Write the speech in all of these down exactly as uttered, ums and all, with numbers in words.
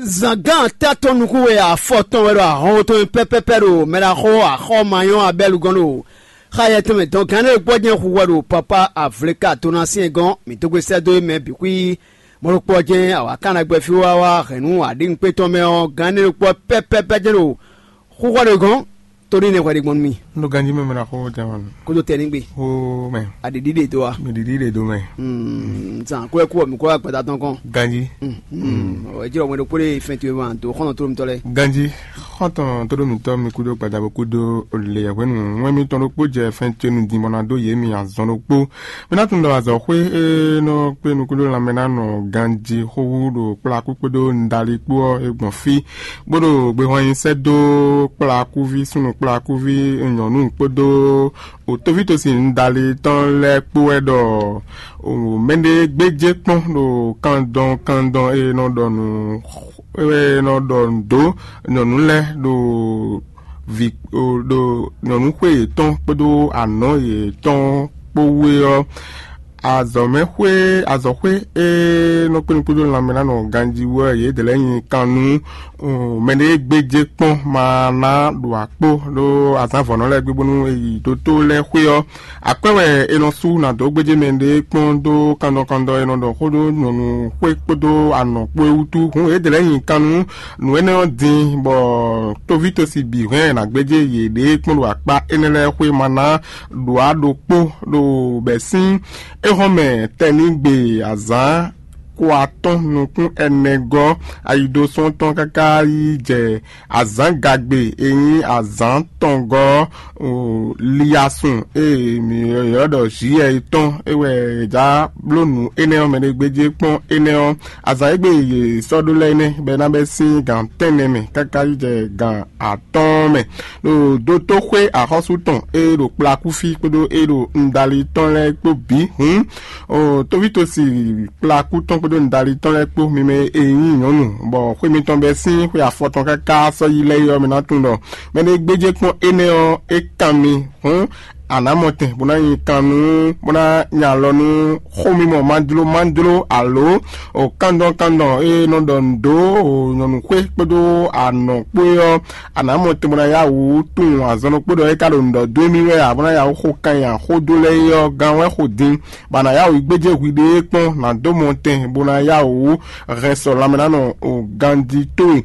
Zǎngán tɛ́ tɔn nukún wɛ afɔ tɔn wɛ ɖo ahɔn tɔn mɛ pɛ́pɛ́pɛ́ ɖo mɛɖaxó axɔ́ ma nyɔ́ Abɛ́lu gɔ́n ɖo xá yɛtɛn mɛ dɔn gǎn ɖé gbɔjɛ́n hu wɛ ɖo papá avleka Tonasyɛn gɔ́n. Mǐ dó gbe sɛ́ dó é mɛ bǐ xwí. Mɔ̌ ɖokpó ɔ́ jɛ́n awǎkannagbɛfí wá wá hɛ̌nnu aɖǐŋukpé tɔn mɛ ɔ́, gǎn énɛ́ ɖokpó ɔ́ pɛ́pɛ́pɛ́ jɛ́n ɖo xúxɔ ɖé gɔ́n. Tóní nɛ́ hwɛ ɖé gbɔn nú mì. Un ɖo ganjí mɛ mɛ ná xó tɛn wá nú. Kódó tɛnigbe. Ó mɛ. Aɖiɖi ɖe dó wa. Mi ɖiɖi ɖe dó mɛ. Zan kó ɛ kú ɔ mi kó wá gbada tɔn kɔn. Ganjí. Ɔ ɛ jírɔ mɛ ɖokpó ɖé fɛn towe ma dó xɔnɔ tó mitɔ lɛ. Ganjí. Xɔntɔn tóɖó mǐtɔn mi kúdó gbadabo kúdó lě hwenu wɛn mitɔn ɖokpó jɛ fɛn ce nu din bɔ ná dó yě mi azɔn ɖokpó. Mi ná tunwun ɖɔ azɔ̌xwé e nɔ kpé nukúndó lanmɛ ná nɔ ganjí xóxú ɖo kplakú kpódó nudali kpó ɔ́ é gbɔn fí, bó ɖo gbehwan nyi sɛ́ dó kplakúví súnnu kplakúví nyɔ̌nu kpódó òtóví tosi nudali tɔn lɛ́ɛ kpó wɛ ɖɔ mɛɖé gbéjé kpɔ́n ɖo kandɔn kandɔn e nɔ ɖɔ nǔ e nɔ ɖɔ nǔ dó nyɔ̌nu lɛ́ɛ ɖo vǐ ɖo nyɔ̌nu xwé yětɔn kpódó anɔ̌ yětɔn kpó wú é ɔ́, azɔ̌mɛxwé azɔ̌xwé e nɔ kpé nukúndó lanmɛ ná nɔ ganjí wú ɔ́, yědɛɛ lɛ́ɛ nyi kan nú mɛɖé e gbéjé kpɔ́n ma ná ɖo akpó ɖó azǎn vɔ̌nɔ lɛ́ɛ gbe bónú è yi dótó lɛ́ɛ xwé ɔ́. Akwɛ́ wɛ è nɔ sú nǎ dó gbéjé mɛ ɖé kpɔ́n dó kandɔn kandɔn è nɔ ɖɔ xó dó nyɔ̌nu xwé kpódó anɔ̌ kpó é wútu. Hǔn yědɛɛ lɛ́ɛ nyi kan nú nǔ énɛ́ ɔ́ din, bɔ tóví tosi bǐ hɛn è nǎ gbéjé yěɖée kpɔ́n ɖo akpá énɛ́ lɛ́ɛ xwé ma ná ɖǒ á ɖokpó ɖo bɛ̌ sín éhɔ́nmɛ tɛnígbe azǎn kó atɔ́n nukún ɛnɛ gɔ́ ayidosɔ́ tɔn káká yi jɛ azǎngagbe e nyí azǎn tɔn gɔ́ ɔ́, liasun e mǐ ylɔ́ ɖɔ Zyɛ́ɛ é tɔn é wɛ è já bló nǔ énɛ́ ɔ́ mɛ ɖé gbéjé kpɔ́n énɛ́ ɔ́, azǎn e gbe yě sɔ́ ɖó lɛ́ɛ nɛ́ bɔ é ná bɛ́ sín gǎn tɛ́nnɛ mɛ káká yi jɛ gǎn atɔ́ɔ́n mɛ, ɖo dótóxwé axɔ́sú tɔn e ɖo kplakúfí kpódó e ɖo nudali tɔn lɛ́ɛ kpó bǐ hǔn, tóvítosi kplakú tɔn kpódó nudali tɔn lɛ́ɛ kpó mi mɛ e nyí nyɔ̌nu, bɔ xwé mitɔn bɛ́ sín xwe afɔ tɔn káká sɔ́ yi lɛ́ɛ é ɔ́, mi ná tunwun ɖɔ mɛɖé gbéjé kpɔ́n énɛ́ ɔ́, é kan mi hǔn, a nǎ mɔ tɛn bó ná nyi kan nú bó ná nya alɔ nú xó mímɔ mánjló mánjló alo kandɔn kandɔn e nɔ ɖɔ nǔ dó nyɔ̌nu xwé kpódó anɔ̌ kpó é ɔ́, a nǎ mɔ tɛn bó ná yá wǔ tunwun azɔn ɖokpó ɖɔ é ka ɖo nǔ ɖɔ dó émí wɛ ǎ, bó ná yá wǔ xo kan nyi axó dó lɛ́ɛ é ɔ́, gan wɛ xo din, bɔ a nǎ yá wǔ yi gbéjé hwiɖée kpɔ́n nǎ dó mɔ tɛn bó ná yá wǔ hɛn sɔ lanmɛ ná nɔ ganjí towe.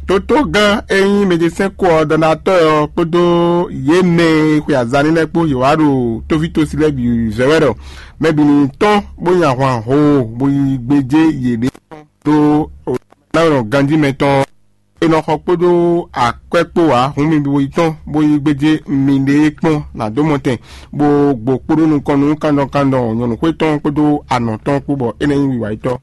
Tótógán e nyí mɛjɛsɛ́n kó ɔ́ dandatɔ́ ɔ́ kpódó yě mɛ e xwe azan nínɛ́ kpó yě wá ɖo tóvítósi lɛ́ɛ bǐ zɛ wɛ ɖɔ mɛ bǐ ní tɔ́n bó nyi ahwan hoo bó yi gbéjé yěɖée ɖó ná nɔ ganjí mɛtɔn e nɔ xɔ kpódó akwɛ́ kpó ǎ. Hǔn mi bo yi tɔ́n bó yi gbéjé miɖée kpɔ́n nǎ dó mɔ tɛn, bó gbo kpódó nukɔn nú kandɔn kandɔn nyɔ̌nu xwé tɔn kpódó anɔ̌ tɔn kpó bɔ é ná nyí wiwa yětɔn.